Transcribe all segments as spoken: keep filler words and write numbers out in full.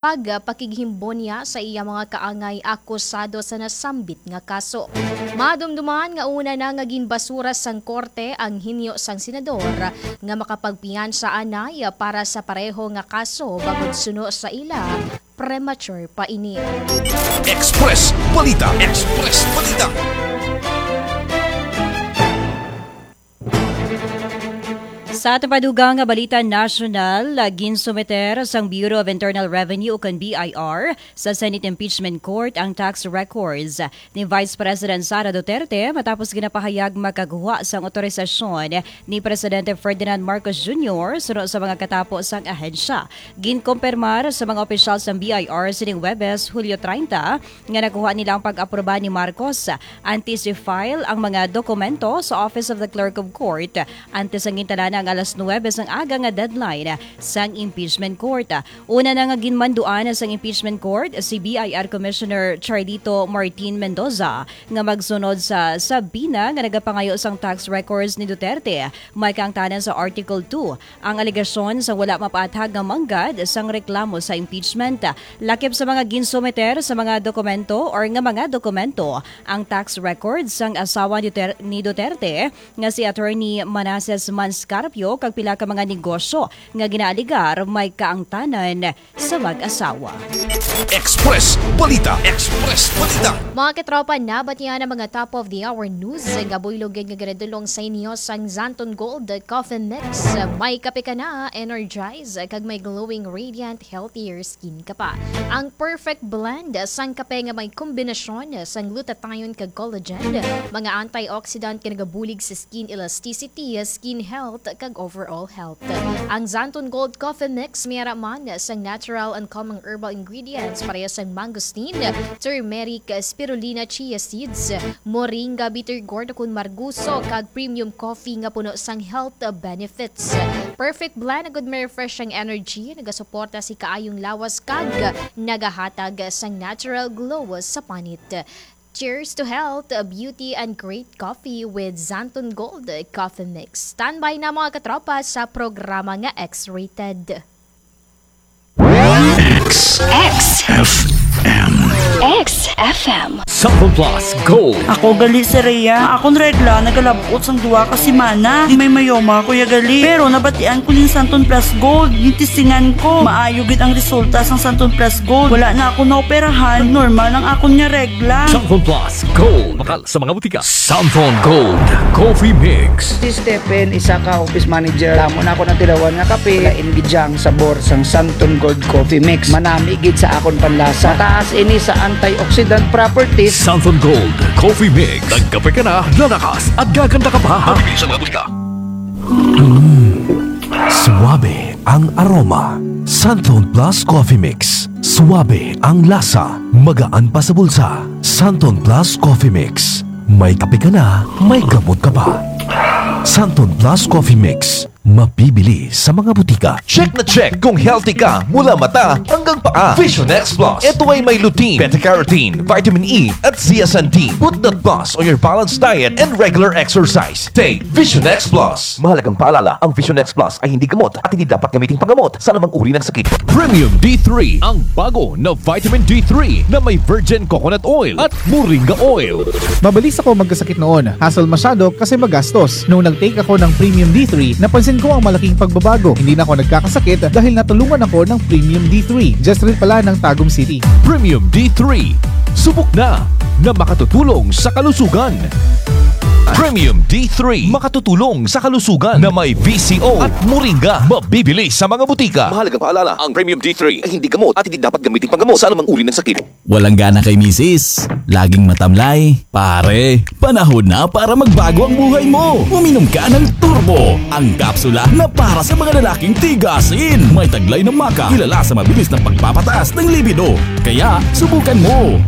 pagpakighimbo niya sa iya mga kaangay akusado sa nasambit nga kaso. Madumduman nga una na nga ginbasura sang korte ang hinyo sang senador nga makapagpiyansa anay para sa pareho nga kaso bangod suno sa ila, premature pa ini. Express Balita. Express Balita. Sa aton padugang nga balita nasyonal, ah, ginsumiter sang Bureau of Internal Revenue, ukon B I R, sa Senate Impeachment Court ang tax records ni Vice President Sara Duterte matapos ginapahayag makagwa sang otorisasyon ni Presidente Ferdinand Marcos Junior suno sa mga katapo sang ahensya. Ginkumpirmar sa mga opisyal sang B I R sining Huwebes, Hulyo treinta, nga nakuha nila ang pag-aproba ni Marcos. Antes i-file ang mga dokumento sa Office of the Clerk of Court, antes ang gintalana ang alas nuwebe sang aga nga deadline sang impeachment court. Una na nga ginmanduan sang impeachment court si B I R Commissioner Charlito Martin Mendoza nga magsunod sa subpoena nga nagapangayo sang tax records ni Duterte, may kaangtanan sa Article two. Ang alegasyon sa wala mapaathag nga manggad sang reklamo sa impeachment. Lakip sa mga ginsumiter sa mga dokumento or nga mga dokumento, ang tax records sang asawa ni Ter-, ni Duterte nga si Attorney Manases Manscarpio kag pila ka mga negosyo nga ginaaligar may kaangtanan sa mag-asawa. Express Balita. Express Balita. Mga katropa, nabatian ang mga top of the hour news nga buylog gid nga ginadulong sa inyo sang Xanthone Gold Coffee Mix. May kape ka na, energize, kag may glowing, radiant, healthier skin ka pa. Ang perfect blend sang kape nga may kombinasyon sang glutathione kag collagen, mga antioxidant nga nagabulig sa skin elasticity, skin health, kag overall health. Ang Xanthone Gold Coffee Mix may ara man sang natural and calming herbal ingredients pareha sang mangosteen, turmeric, spirulina, chia seeds, moringa, bitter gourd ukon margoso, kag premium coffee nga puno sang health benefits. Perfect blend nga may refreshing energy, nagasuporta sa kaayong lawas kag nagahatag sang natural glow sa panit. Cheers to health, beauty, and great coffee with Xanthone Gold Coffee Mix. Standby na, mga katropa, sa programa nga X-rated. X. X. F M. X F M. Xanthone Plus Gold. Ako gali si Rhea. Akon regla nagalab-ot sang duha ka semana. Di may mayoma ako ya gali. Pero nabatian ko ning Xanthone Plus Gold. Gitistingan ko. Maayo gid ang resulta sang Xanthone Plus Gold. Wala na ako naoperahan. Normal ang akon nga regla. Xanthone Plus Gold. Bakal sa mga butika. Xanthone Gold Coffee Mix. Si Stephen, isa ka office manager. Damo na ako natilawan nga kape. Lain gid siya ang sabor sang Xanthone Gold Coffee Mix. Manami gid sa akon panlasa. Mataas ini sa antioxidant properties. Xanthone Gold Coffee Mix. Nagkape ka na, lalakas at gaganda ka pa. Mabibili sa mga butika. Mm. Suabe ang aroma. Xanthone Plus Coffee Mix. Suabe ang lasa. Magaan pa sa bulsa. Xanthone Plus Coffee Mix. May kape ka na, may gamot ka pa. Xanthone Plus Coffee Mix. Mabibili sa mga butika. Check na check kung healthy ka mula mata hanggang paa. Vision X Plus. Ito ay may lutein, beta-carotene, vitamin E, at zeaxanthin. Put that plus on your balanced diet and regular exercise. Take Vision X Plus. Mahalagang paalala, ang Vision X Plus ay hindi gamot at hindi dapat gamiting panggamot sa anumang uri ng sakit. Premium D three, ang bago na vitamin D three na may virgin coconut oil at moringa oil. Mabilis ako magkasakit noon. Hassle masyado kasi magastos. Nung nag-take ako ng Premium D three, napansin ko ang malaking pagbabago. Hindi na ako nagkakasakit dahil natulungan ako ng Premium D three. Just rin pala ng Tagum City. Premium D three. Subok na na makatutulong sa kalusugan. Premium D three. Makatutulong sa kalusugan na may V C O at moringa. Mabibili sa mga butika. Mahalagang paalala, ang Premium D three ay hindi gamot at hindi dapat gamitin panggamot sa anumang uri ng sakit. Walang gana kay misis, laging matamlay. Pare, panahon na para magbago ang buhay mo. Uminom ka ng Turbo, ang kapsula na para sa mga lalaking tigasin. May taglay na maca, kilala sa mabilis na pagpapataas ng libido. Kaya, subukan mo.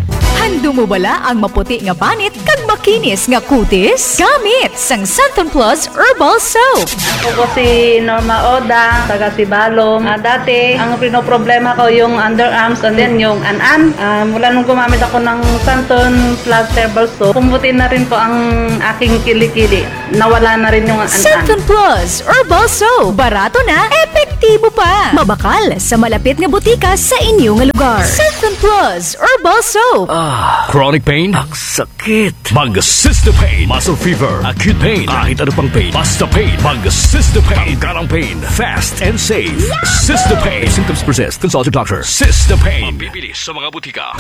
Andam mo bala ang maputi nga banit kag makinis nga kutis? Gamit sang Santon Plus Herbal Soap. Ako po si Norma Oda, taga Sibalom. Ah, dati, ang pinoproblema ko yung underarms and then yung an-an. Ah, mula nung gumamit ako ng Santon Plus Herbal Soap, pumuti na rin po ang aking kilikili. Nawala na rin yung an-an. Santon Plus Herbal Soap. Barato na, epektibo pa. Mabakal sa malapit nga butika sa inyo nga lugar. Santon Plus Herbal Soap. Ah, chronic pain? Ang sakit. Mag Sister Pain. Muscle fever, acute pain, kahit ano pang pain. Basta pain. Mag Sister Pain. Tanggal ang pain. Fast and safe. Sister Pain. If symptoms persist, consult your doctor. Sister Pain. Mabibili sa mga butika.